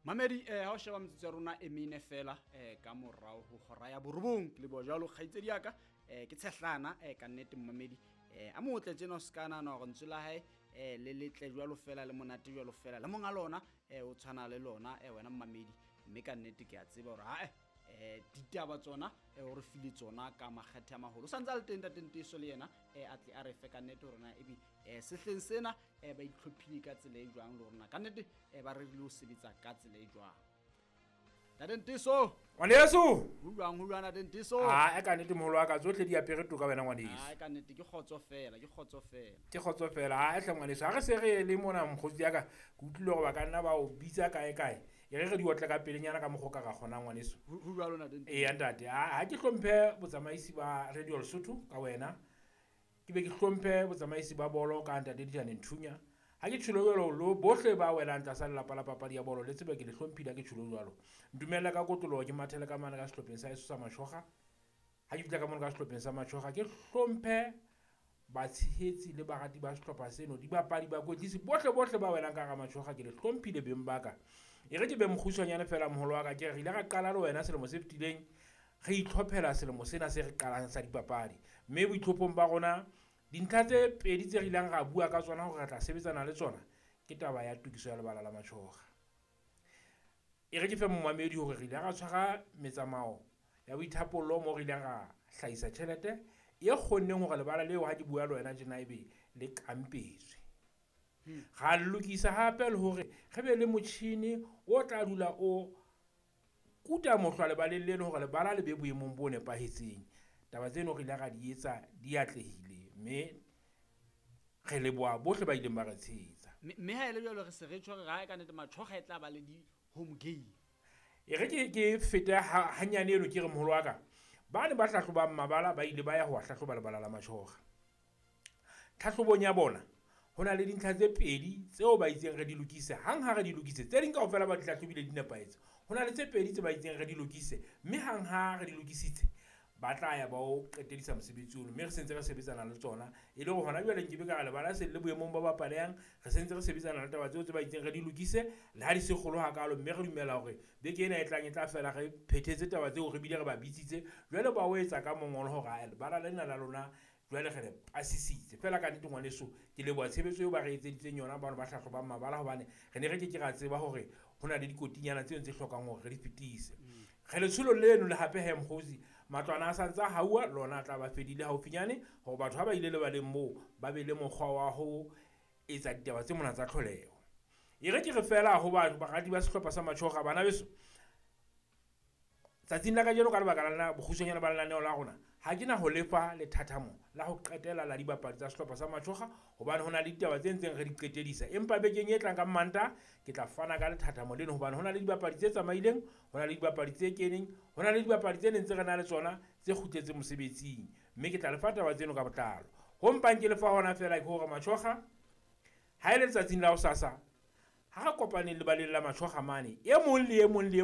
Mamedi ha o sheba metsotso ya rona e mene fela ka morao ho hora ya borobong. Ke leboha jwalo kgaitsedi ya ka ke tshehlana ka nnete mmamedi a motle tjena o ska nahana hore lentswe la hae le letle jwalo fela le monate jwalo fela le monga lona o tshwana le lona wena mmamedi, mme ka nnete ke a tseba hore ha ditaba tsona o re file tsona ka makgethe a maholo. O santse a le teng ntate Nteso le yena a tle a re fe ka nnete hore na ebe sehleng sena ba itlhophile ka tsela e jwang le hore na ka nnete ba rerile ho sebetsa ka tsela e jwang. Ntate Nteso. Ngwaneso. Ho jwang, ho jwang ntate Nteso? Ah, ka nnete moholo wa ka tsohle di apere toka wena ngwaneso. Ah, ka nnete ke kgotso fela, ke kgotso fela. Ke kgotso fela. Ah, hle ngwaneso, ha re se re le mona mokgotsi ya ka, ke utlwile hore ba ka nna ba o bitsa kae kae. E re re di otle ka pelenyana ka mokgwa o ka ra kgonang ngwaneso. Ho jwalo ntate Nteso. Eya ntate, ha ke hlomphe botsamaisi ba Radio Lesotho ka wena. Ke be ke hlomphe botsamaisi ba bolo ka ntate Dijane Nthunya. Ha ke tjholo jwalo lo bohle ba welang tlasa lelapa la papadi ya bolo le tsebe ke le hlomphile ha ke tjholo jwalo. Ntumella ka kotloloho ke mathele ka mane ka sehlopheng sa heso sa Matjhoga. Ha ke fihla ka mono ka sehlopheng sa Matjhoga ke hlomphe batshehetsi le barati ba sehlopha seno, dibapadi, bakwetlisi bohle bohle ba welang ka hara Matjhoga ke le hlomphile beng ba ka. E re ke be mokgutshwanyane fela moholo wa ka, ke re ile ra qala le wena selemo se fetileng re itlhophela selemo sena se re qalang sa dipapadi. Mme boitlhophong ba rona dintlha tse pedi tse re ileng ra bua ka tsona hore re tla sebetsana le tsona ke taba ya tokiso ya lebala la Matjhoga. E re ke fe momamedi hore re ile ra tshwara metsamao ya boithapollo moo re ileng ra hlahisa tjhelete e kgonneng hore lebala leo ha ke bua le wena tjena ebe le kampetswe. Ra lokisa hape le hore re be le motjhini o tla dula o kuta mohlwa lebaleng leno hore lebala le be boemong bo nepahetseng. Taba tseno re ile ra di etsa di atlehile, mme re leboha bohle ba ileng ba re tshehetsa. Mme ha ele jwalo re se re tjho re ha ka nnete Matjhoga e tla ba le di home game. E re ke fete hanyane eno ke re moholo wa ka, ba ne ba hlahlobang mabala ba ile ba ya ho hlahloba lebala la Matjhoga. Tlhahlobong ya bona ho na le dintlha tse pedi tseo ba itseng re di lokise. Hang ha re di lokise, tse ding kaofela ba di hlahlobile di nepahetse. Ho na le tse pedi tse ba itseng re di lokise, mme hang ha re di lokisitse ba tla ya ba o qetedisa mosebetsi ono, mme re sentse re sebetsana le tsona. E le hore hona jwale nkebe ka re lebala se le boemong ba bapalehang, re sentse re sebetsana le taba tseo tse ba itseng re di lokise, le ha di se kgolo hakalo, mme re dumela hore beke ena e tlang e tla fela re phethetse taba tseo, re bile re ba bitsitse. Jwale ba o etsa ka mongolo hore a lebala lena la lona jwale re le pasisitse. Fela ka nnete ngwaneso, ke leboha tshebetso eo ba re etseditseng yona bano ba hlahlobang mabala, hobane re ne re ke ke ra tseba hore ho na le dikotinyana tseo tse hlokang hore re di fetise. Re letsholo leno le hape he mokgotsi, matlwana a santse a hauwa, lona a tla ba fedile haufinyane hore batho ha ba ile lebaleng moo ba be le mokgwa wa ho etsa ditaba tse mona tsa tlholeho. E re ke re fela ho barati ba sehlopha sa Matjhoga, bana beso, tsatsing la kajeno ka lebaka la bokgutshwanyane ba lenaneo la rona, ha ke na ho lefa lethathamo la ho qetela la dibapadi tsa sehlopha sa Matjhoga, hobane ho na le ditaba tse ntseng re di qetedisa. Empa bekeng e tlang ka Mmantaha ke tla fana ka lethathamo leno, hobane ho na le dibapadi tse tsamaileng, ho na le dibapadi tse keneng, ho na le dibapadi tse neng tse re na le tsona tse kgutletseng mosebetsing, mme ke tla lefa taba tseno ka botlalo. Ho mpang ke lefa hona fela ke hore Matjhoga ha e le letsatsing la hosasa, ha re kopaneng lebaleng la Matjhoga mane, e mong le e mong le e